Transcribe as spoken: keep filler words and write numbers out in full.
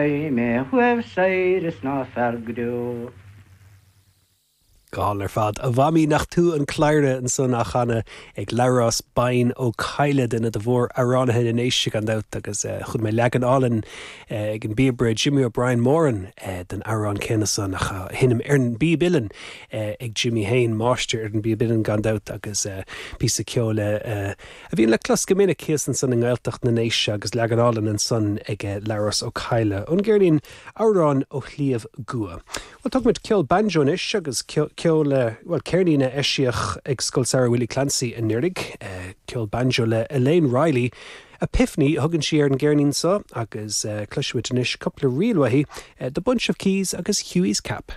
Mé chuaibh soir is ná fearg go deo. Gal ar fad a mhamaí nach tú an cladhaire ansan á chanadh ag Labhrás Bain Ó Cadhla duine de mhór-amhránaithe na nDéise gan dabht agus eh, chonaic mé leagan álainn eh, ag an bpíobaire Jimmy O'Brien Moran eh, den amhrán céanna san ach á sheinm ar an bpíb uilleann ag Jimmy féin máistir ar an bpíb uilleann gan dabht agus píosa ceoil a bhíonn le clos go minic thíos ansan i nGaeltacht na nDéise agus leagan álainn ansan ag Labhrás Ó Cadhla ón gceirnín Amhrán ó Shliabh gCua. Well tógfaimid ceol banjo anois agus ceol well ceirnín a eisíodh ag Scoil Samhraidh Willie Clancy anuraidh, ceol banjo le Elaine Riley. Epiphany thugann sí ar an gceirnín seo agus uh, cloisfimid anois cúpla ríl uaithi, uh, The Bunch of Keys agus Hughie's Cap.